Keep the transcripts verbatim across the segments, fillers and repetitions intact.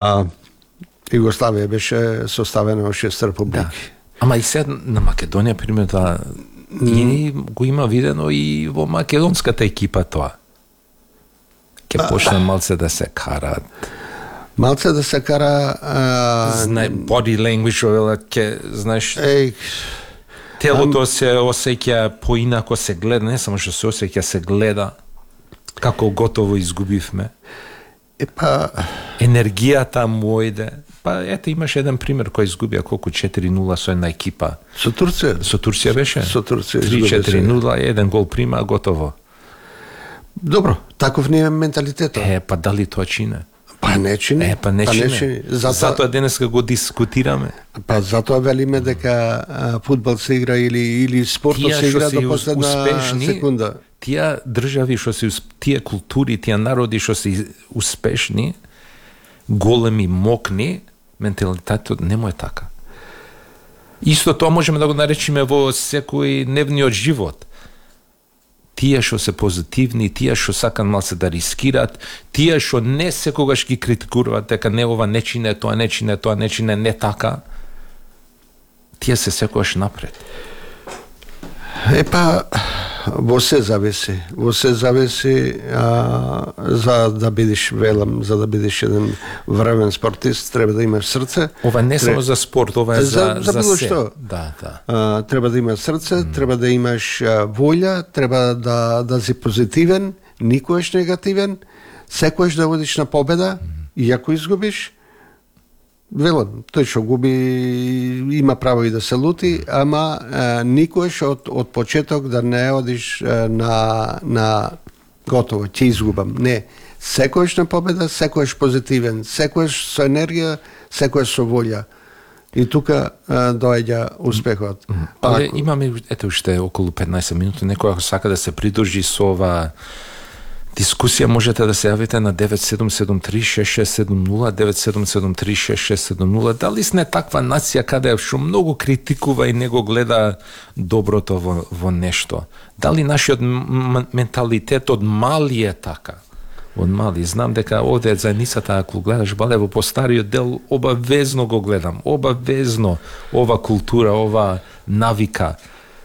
А Југославија беше составена од шест републики. Да. Ама и сега на Македонија, пример, да, и го има видено и во македонската екипа тоа. Ке почне малце да се карат. Малце да се кара... А... Знае, body language, ке, знаеш... Еј, телото се осеќа поинако, се гледа, не само што се осеќа, се гледа како готово изгубивме. Епа... Енергијата му ојде. Па ете, имаш еден пример кој изгубија колку четири нула со една екипа. Со Турција? Со Турција беше? Со Турција три четири нула, еден гол прима, готово. Добро, таков не е менталитетот. Е, па дали тоа чине? Па не чини. Е, па не па чини. Не чини. Затоа, затоа денеска го дискутираме. Па затоа велиме дека а, фудбал се игра или или спортот се игра до последна успешни, секунда. Тие држави што се, тие култури, тие народи што се успешни, големи, мокни, менталитетот не му е така. Исто тоа можеме да го наречеме во секој дневниот живот. Тие што се позитивни, тие што сакан малце да рискираат, тие што не секогаш ги критикуваат дека не ова не чине, тоа не чине, тоа не чине, не така, тие се секогаш напред. Епа, во се зависи. Во се зависи а, за да бидеш, велам, за да бидеш еден времен спортист, треба да имаш срце. Ова не треба... само за спорт, ова е за, за, за, било се. што. Да, да. А, треба да имаш срце, mm. треба да имаш а, волја, треба да, да си позитивен, никош негативен, секојаш да водиш на победа, mm. и ако изгубиш, велам, тој што губи има право и да се лути, ама а, никош од, од почеток да не одиш а, на, на готово, ќе изгубам. Не, секојаш на победа, секојаш позитивен, секојаш со енергија, секојаш со волја. И тука а, доаѓа успехот. Mm. Але ако... имаме, ете уште околу петнаесет минути, некој ако сака да се придружи со ова дискусија, можете да се јавите на девет седум седум три шест шест седум нула, девет седум седум три шест шест седум нула. Дали сме таква нација каде што многу критикува и не го гледа доброто во, во нешто? Дали нашиот менталитет од мали е така? Од мали. Знам дека овде заедницата, ако гледаш бале во постариот дел, обавезно го гледам. Обавезно ова култура, ова навика,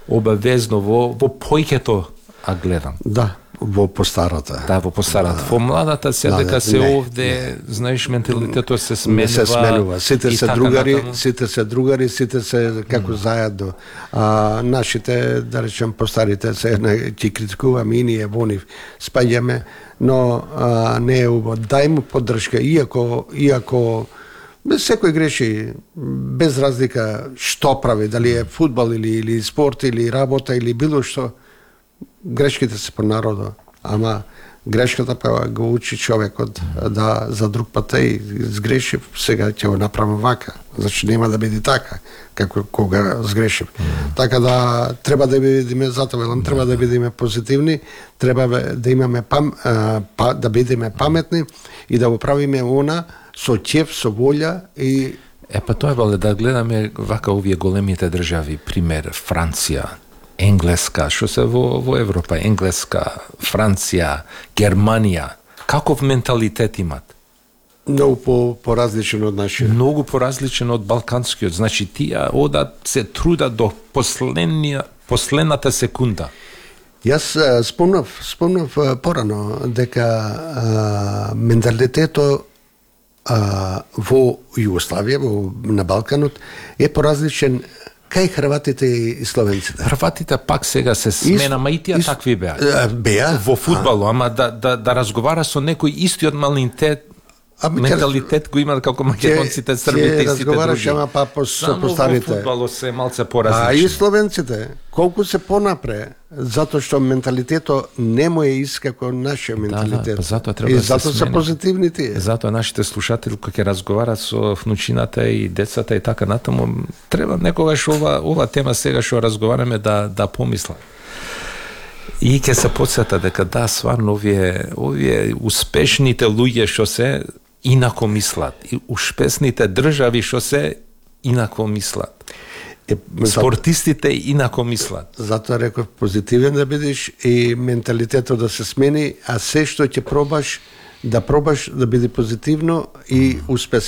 обавезно во, во појкето а гледам. Да. Во постарата. Да, во постарата. Да. Во младата се да, дека се не, овде, не. Знаеш, менталитетот се сменува. Не се сменува. Сите се другари, натаму. сите се другари, сите се како mm. заедно. А нашите, да речем, постарите се ќе критикуваме и ние во нив спаѓаме, но а, не е убаво. Дај му поддршка, иако иако секој греши без разлика што прави, дали е фудбал или или спорт или работа или било што. Грешките се по народо, ама грешката па го учи човекот да за друг пат и сгрешив, сега ќе го направам вака, значи нема да биде така како кога сгрешив. Mm. Така да треба да бидеме затоа велам, треба да бидеме позитивни, треба да имаме пам, а, па, да бидеме паметни и да го правиме она со ќеф, со волја и Е па тоа е да гледаме вака овие големите држави, пример Франција, Енглеска, што се во, во Европа, Енглеска, Франција, Германија, каков менталитет имат? Многу по, поразличен од нашиот. Многу поразличен од балканскиот. Значи, тие одат, се трудат до последната секунда. Јас спомнав, спомнав порано дека а, менталитетот а, во Југославија, во, на Балканот, е поразличен кај хрватите и словенците. Хрватите пак сега се смена, ма и тие ис... такви беа. Беа? Во фудбалу, ама да, да, да разговара со некој истиот малинтет, а, менталитет го имаат како македонците, србите и сите други. Ама па по, само по старите. Во фудбалот се малце поразлично. А и словенците, колку се понапре, затоа што менталитетот не му е ист како нашиот менталитет. Да, да, па затоа треба и да се затоа се смени. позитивни тие. Затоа нашите слушатели кога ќе разговарат со внучината и децата и така натаму, треба некогаш ова ова тема сега што разговараме да да помислат. И ќе се потсета дека да, сварно овие овие успешните луѓе што се инако мислат, и успешните држави што се инако мислат. Е, спортистите инако мислат. Затоа реков позитивен да бидеш и менталитетот да се смени, а се што ќе пробаш да пробаш да биде позитивно и успеси